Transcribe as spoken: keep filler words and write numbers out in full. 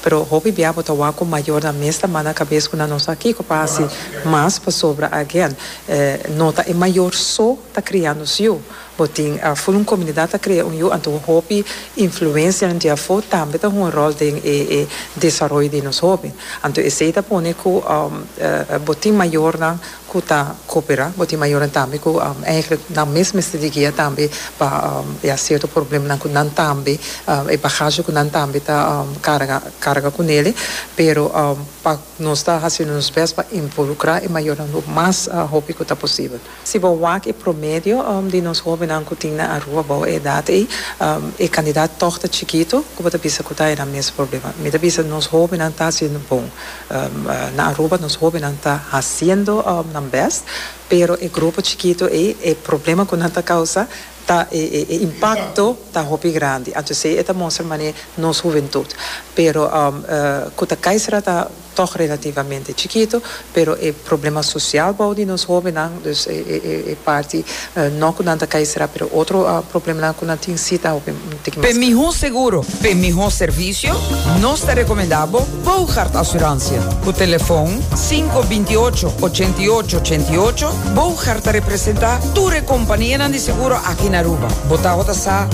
Pero hopi bia bo ta wak ku mayornan mes ta man na kabes ku nan no sa kiko pa hasi mas pasobra, again, eh, no ta e mayor so ta kriando su yu. Bo tin uh, full un komunidat ta kria un yu, anto hopi influensia di afó tambe ta un ròl den e, e desaroyo di nos hóben. Anto esei ta pone ku um, uh, bo tin mayornan ku ta kooperá, bo tin mayornan tambe ku um, eigenlijk nan mes mester di guia tambe pa um, ja, sierto problemanan ku nan tambe um, e bagahe ku nan tambe ta um, karga karga kuné, pero um, pa nos ta hasiendo nos best pa involukrá e mayornan mas uh, hopi ku ta posibel. Si bo wak e promedio um, di nos hóbennan ku tin na Aruba bou edat ei, um, e kantidat toch ta chikitu, ku bo ta bisa ku ta e mes problema. Mi ta bisa nos hóbennan ta hasiendo bon. Um, uh, na Aruba nos hóbennan ta hasiendo um, nan best, pero e grupo chikitu ei, e problema ku nan ta kousa ta e, e, e impakto ta hopi grandi. Anto esei ta mustra manera nos hubentut. Pero um, uh, ku ta kai sera ta toch relativamente chikitu, pero e problema sosial bou di nos hóbennan, dus e, e, e parti uh, no ku nan ta kai sera, pero otro uh, problemanan ku nan tin si ta hopi Pa mihó seguro, pa mihó servisio, nos ta rekomendá Bogart Assurantie. Ku telefòn sinku bintiòcho ochentiòcho ochentiòcho, Bogart ta representá tur kompania di seguro aki na Aruba. Bo ta sa.